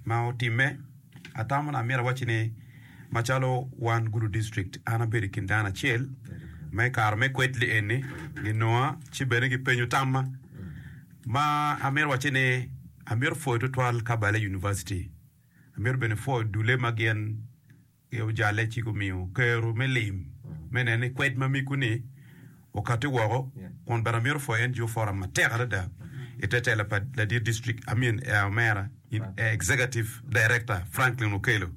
ma otimme, atamo ni amyero awacci ni macalo wan Gulu District an abedo i kin dano acel ma i kare me kwed li eni ginonga ci bene gipenyo tamma ma amito wacci ni amito pwoyo tutwal Kabale University amito bene pwoyo dule ma gin ojalle ci gumiyo kero me lim me neno ni kwed ma mego-ni okatti woko kun bene amito pwoyo NGO Forum matek adada i te tela pa ladit district I mean omera Executive Director Franklin Okello.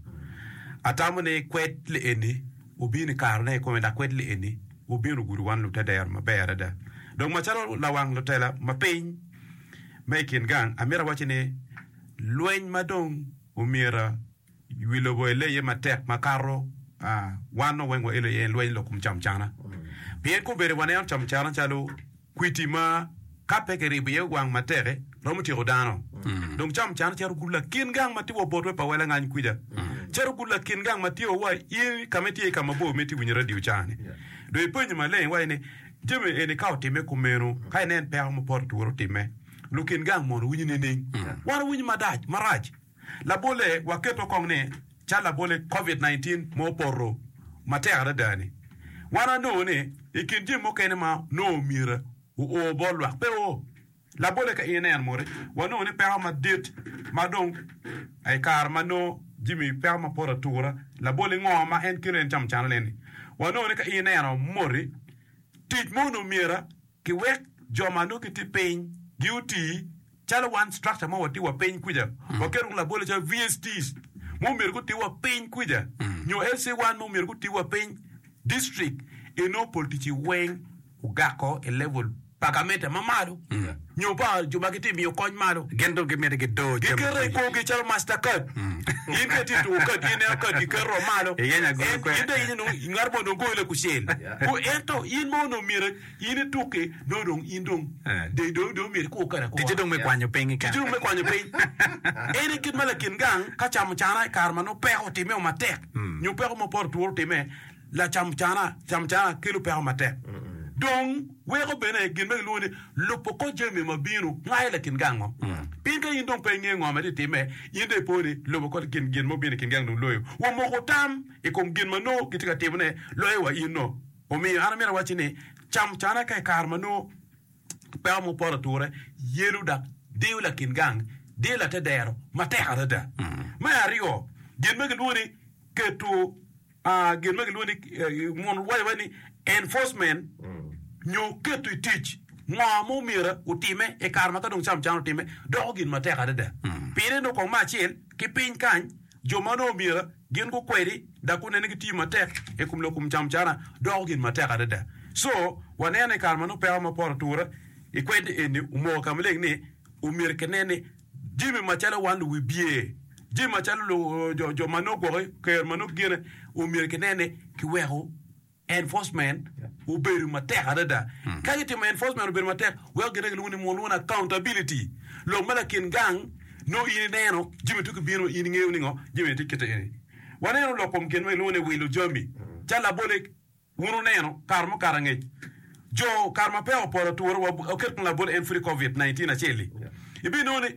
Atamo ni kwed li eni obino i karene kikome dok kwed li eni obino ogudo wan lutedero maber adada. Dong macalo lawang lutela ma piny me i kin gang amito awacci ni lweny ma dong omyero Wi lobo ele iye matek makato wan nongo weng waelo iye lweny lok kom camcana. Pien kombeddi waneno camcana calo kwiti ma ka pe kiribo iye wang matek-ki romo tyeko dano. Dong camcana cito gudo lakin gang ma tye wa botwa i pa wel angany kwija. Cito gudo lakin gang ma tye wa in ka ma itye ka mabor ma itye winyo radio ca-ni. Dong ipenyo maleng iwaco ni jami eni ka otimme kumeno ka inen peko ma poto twero timme lukin gang mono winyo nining? Wan wawinyo madac marac. Labolle, waketo kong ni cal labolle Covid 19 ma opoto matek adada-ni. Wan wanongo ni i kin jami mukene ma nongo myero oo bot lwak pe oo. Labolle ka in ineno moti, wanongo ni peko madit ma dong i kare ma nongo jami peko ma poto atura, labolle ngo ma en kelo en camucana ni? Wanongo ni ka in ineno moti, tic mo onongo myero kiwek jo ma nongo gitye piny gi oti calo wan structure mo watye wa piny kwica waketo labole calo VSTs mo myero guti wa piny kwica nyo LC1 mo myero guti wa piny district eno pol ticci weng ogako i level pa gamente ma malo nyo pa jo ma gitye miyo kony malo. Gin dong gimito gidor jami Giketo i ducu. korgi calo master card. In ka itye tuko card, in ineno card giketo wa malo. Iyenyo agulu En, kwe. in dong iyenyo nongo ngat mo dong goyi lakucel. Ku, ento in ma onongo myero in itukki, nongo dong in dong, Eh. dong, dong, dong myero ikur kede akura. Ticce dong me kwanyo piny Ticce keken. dong me kwanyo piny. En aye kit ma lakin gang ka camo cana i kare ma nongo peko otimme matek, nyo peko mo poto tworo otimme, Lacam cana, cam cana kelo peko matek. Dong weko bene gin ma gilwongo ni lubo kor jami ma bino ngayo lakin gang-ngo. Pien ka in dong pe ingeyo ngo ma tye timme, in dong ipo ni lubo kor gin gin ma obino i kin gang dong loyo. Wamoko tam i kom gin ma nongo gitye ka timone loyo wa in no. Omiyo an amito awacci ni cam cana ka i kare ma nongo peko mo poto ature yelo dok diyo lakin gang, diyo latedero matek adada. Me aryo, gin ma gilwongo ni keto gin ma gilwongo ni mun waco wa ni enforcement nyo keto i tic ngo ma omyero otime i kare ma ka dong camucana otime doko gin matek adada. Pire nongo kong me acel ki piny kany jo ma nongo omyero gin gukwedi dok gunen ni gitiyo matek i kom lok kom camucana doko gin matek adada. So waneno i kare ma nongo peko ma poto atura i kwed eni omoko ka maleng ni omyero kinen ni Jami macalo wan luwibye, jami macalo jo ma nongo gwoki ker ma nongo gine omyero kinen ni kiweko enforcement obedo matek adada. Ka gitimo enforcement obedo matek, weko gine gilwongo ni lwongo ni accountability. Lok ma lakin gang nongo in ineno jami tye kibino in ingeyo ni ngo jami tye kite eni. Waneno lok kom gin ma gilwongo ni wilo jami calo labole Wun wuneno, kare mukato angec, jo kare ma peya opoto atura, waket kong labol en pud i Covid 19 acel-li, ibinongo ni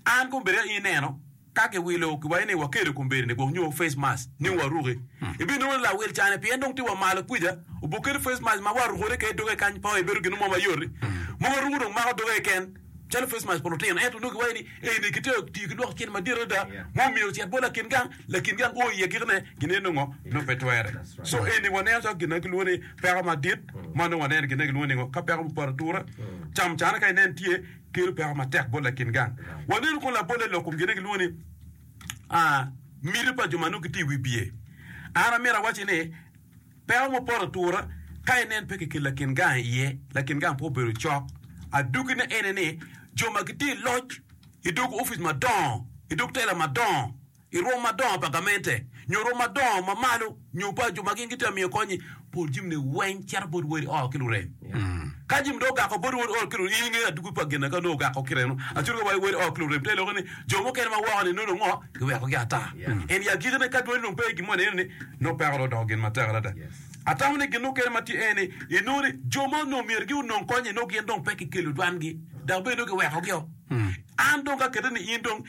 an kombeddi ka in ineno ka kiwilo kiwaco ni wakelo kombeddi-ni gwok nyo face mask ni waruki, ibinongo ni lawil cani pien dong tye wa malo kwija obuketo face mask ma warukone kede doge kany pe ebedo gin mo mayot-ti mogo ruko dong mako doge keken. Calo face mask pa lutino ento nongo giwaco ni eni kitye ka tiyo ki lwak cente madit adada ma omyero ocit bot lakin gang, lakin gang o iye gikone gineno nongo nongo pe twere. So eni waneno calo gin ma kilwongo ni peko madit ma nongo waneno gin ma kilwongo ni ngo ka peko mupoto atura camucana ka inen tye kelo peko matek bot lakin gang. Waneno kong labolle lok kom gin ma kilwongo ni miti pa jo ma nongo gitye i wi bye. An amito awacci ni Peko ma poto atura ka inen pe kikelo lakin gang iye, lakin gang pe obedo cok. Adwogine ene ni, jo ma gitye i loc i dog opic madongo, i dog tela madongo, i rwom madongo pa gamente, nyo rwom madongo ma malo, nyo pa jo ma gin gitye ka miyo kony-nyi, pol jami-ni weng cito bot wodi ot ki lurem. Ka jami dong ogako bot wod ot ki lurem, in ingeyo adwogi pa gin ka nongo ogako kite-nu. Acuto ka waco wod ot ki lurem, te loko ni jo mukene ma woko-ni nongo dong ngo? Giwekogi ata. En i agikine ka dwani dong pe i gin moni eno ni nongo peko dong odoko gin matek adada. Atamo ni gin mukene ma tye en ni inongo ni jo ma onongo myero gi onong kony-nyi nongo gin dong pe kikelo dwangi dok bene nongo giwekogio. An dong ka kete ni in dong.